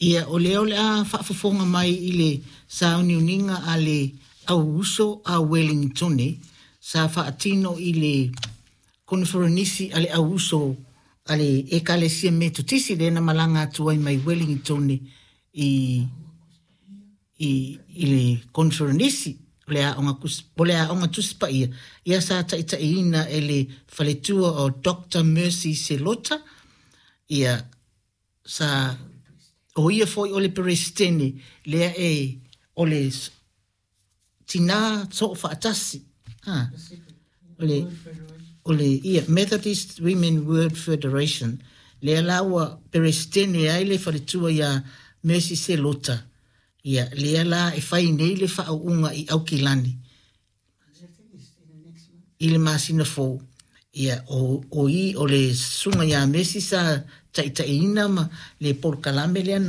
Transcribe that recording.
Ia, o lea o le a faafofoga mai i le sauniuniga a le au uso a Welingitone sa faatino i le koneferenisi a le au uso a le Ekalesia Metotisi lea na malaga atu ai mai Welingitone i i, i le koneferenisi o le aoga, o le aoga Tusi Paia, ia sa taitaiina e le faletua o Dr. Mercy Selota, ia sa o ia foi o le Peresetene lea e o le tinā soofaatasi, ha, o le o le ia Methodist Women World Federation lea la ua Peresetene ai le faletua iā Mercy Selota, ia lea la e fai nei le faauuga i Aukilani i le masina fou. Ia o, o i o le susuga iā Mercy sa taitaiina ma le polokalame lea na